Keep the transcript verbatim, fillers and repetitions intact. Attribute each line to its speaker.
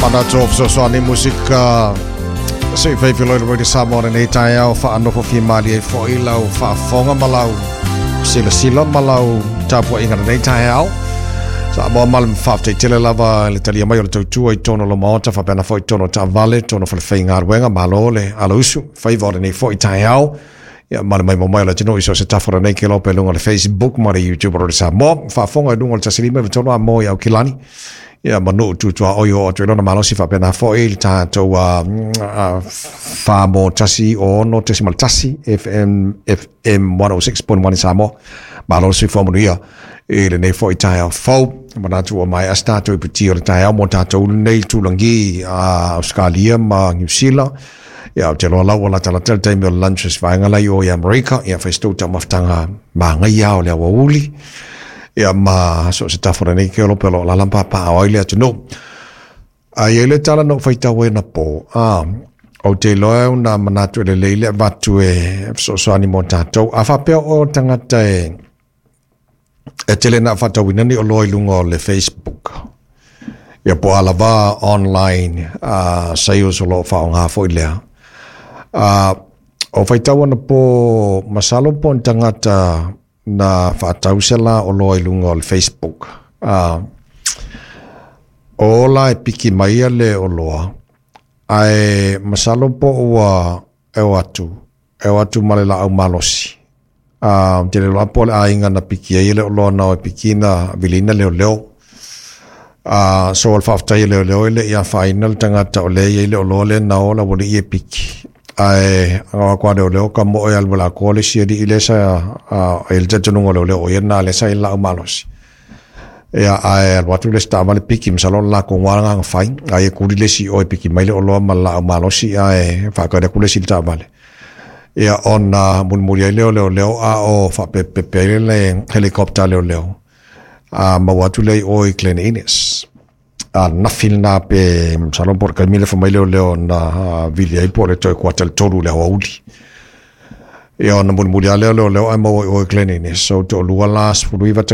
Speaker 1: Manatu o fesoasoani musika se i faifilo i le Radio Samoa lenei taeao faanofo fiamalie ai fo'i lau faafofoga ma lau silasila ma lau tapua'iga lenei taeao. Samoa ma le faafetai tele lava i le talia mai o le tautua i totonu o lo maota faapena fo'i totonu o taavale, totonu o falefaigaluega. Malo le alausu faiva o lenei fo'i taeao. Ia ma le maimoa mai o le atunuu i so o se tafa o lenei kelope i luga o le Facebook ma le YouTube o Radio Samoa. Faafofoga i luga o le tasi lima iva tolu Amoa i Aukilani. Ia ma nuu tutuaoi o atu i lona malosi faapena fo'i le tatou uh, fa mo tasi ono tesimal tasi F M, F M one oh six point one i Samoa. Malo le soifua manuia i lenei fo'i taeao fou. Manatu ua maea se tatou iputi o le taeao mo tatou lenei tulagi a Australia ma Niu Sila. Ia, ou te iloa lau ua latalata le taimi o le lunch se vaega lai o i Amerika. Ia, fai se tou taumafataga magaia o le aoauli. Ia, ma so o se tafa o lenei keolope o lo o alaala ma papaaao ai le atunuu. A i ai le tala na ou faitau ai anapo, a, ou te iloa e una manatu e lelei le avatu e fesoasoani mo tatou. A faapea o tagata e e tele na faatauina ni oloa i luga o le Facebook, ia po o a lava online uh, sales o lo o faaaoga foi lea. Uh, o faitau anapo, masalo po o ni tagata na faatau se la oloa i luga o le Facebook. Uh, o la e piki mai le oloa, ae masalo po ua e o atu, e o atu ma le laau malosi. Uh, te le loa po o le aiga na piki ai le oloa na o e piki na vilina leoleo. Uh, so o le faafetai a leoleo e le i afaina le tagata o lea e i ai le oloa lea na o la ua lii e piki. Ae agaga leoleo ka mo e alu ma le atoa le isi alii lea sa uh, e le talitonuga o leoleo o ia lena lea sa i le laau malosi. Ia, ae alu atu le isi taavale piki, masalo o le latou agaga fai. Ai e kuli le isi o e piki mai le oloa ma le laau malosi ae faatali atu le isi i le taavale. Ia, ona mulimuli ai lea o leoleo a o faapepepe ai le helicopter a leoleo. A maua atu lea i o i Glen Innes. A nafi lena pe masalo po o le taimi lea fai mai leoleo na vili ai po o le toe kuata i le tolu i le aoauli. Ia, ona mulimuli lava lea o leoleo ae maua i o i Glen Innes. So toalua la sefuluiva.